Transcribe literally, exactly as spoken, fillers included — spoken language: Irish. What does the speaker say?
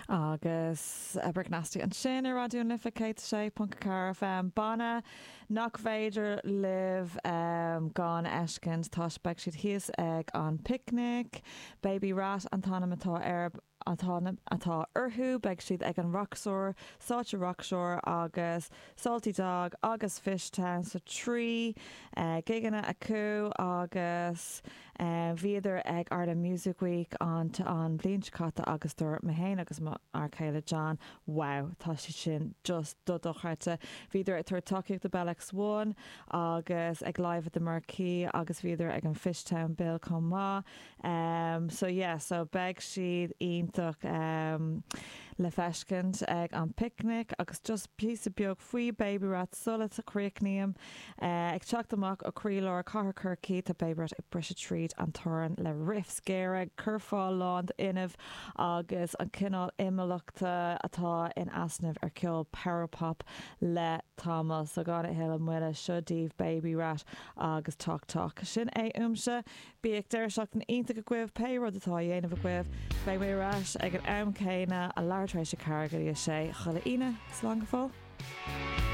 Agus Brick Nasty ansin ar Raidió na Life céad sé ponc ceathair F M, banna nach féidir libh um, gan fheiscint, tá beidh siad thíos ag an Picnic. Baby Rat an t-ainm atá ar atá atá orthu. Beidh siad ag an Roxor, Sáite Rockshore agus Salty Dog agus Fishtown, so trí uh, gigeanna acu, agus uh, bhíodar ag Ireland Music Week an an bhliain seo caite agus dúirt mé féin agus m'fhear céile John, "Wow, tá sé sin just do dochreidte." Bhíodar ag tabhairt tacaíocht do Bell X one agus ag Live at the Marquee agus bhíodar ag an Fishtown Bill chomh maith. Um, so yeah, so beidh siad iontach um, le feiscint ag an Picnic. Agus just píosa beag faoi Baby Rat sula gcríochnaím. uh, ag teacht amach ó chroílár cathair Chorcaí, tá Baby Rat ag briseadh tríd an torann le riffs géara, curfá lán d'fhuinneamh agus an cineál imeallachta atá in easnamh ar ceol power pop le tamall. So gan a thuilleadh moille, seo daoibh Baby Rat agus Talk Talk. Sin é uaimse. Bíodh deireadh seachtaine iontach agaibh, pé rud atá á dhéanamh agaibh. Beidh mé ar ais ag an am céanna a leathuair tar éis a ceathair go dtí a sé chuile Aoine. Slán go fóill.